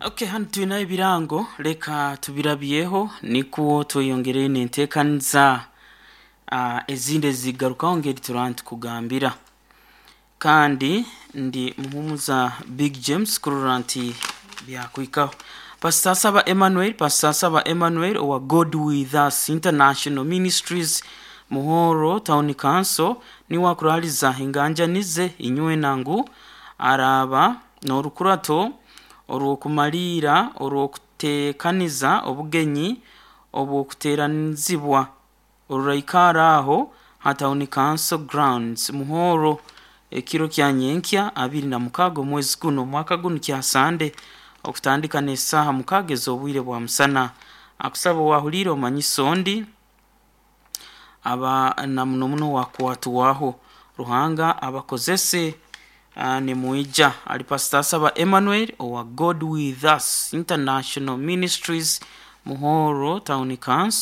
Okay, hanu twine ebirango leka tubirabyeho nikwo tweyongereyo nenteekaniza ezindi ezigarukaho ngeri turaba nitukugambira. Kandi ndi Muhumuza Big James kurora nti byakwikaho. Pastor Saba Emmanuel, Pastor Saba Emmanuel owa God With Us International Ministries Muhoro Town Council niwe akuraliza enganjanize inywena ngu araaba n'orukurato orw'okumaliira orw'okuteekaniza obugenyi obw'okuteeranizibwa oruraikara aho ha Town Council Grounds Muhoro ekiro kya nyenkya 26 omwezi guno omwaka gunu kya Sande okutandika n'esaaha 6 ez'obwire bwa musana. Akusaba owahuliire omanyise ondi aba na muno muno wakwatwaho. Ruhanga abakozese nimwija. Ali Pastor Saba Emmanuel owa God With Us International Ministries Muhoro Town Council.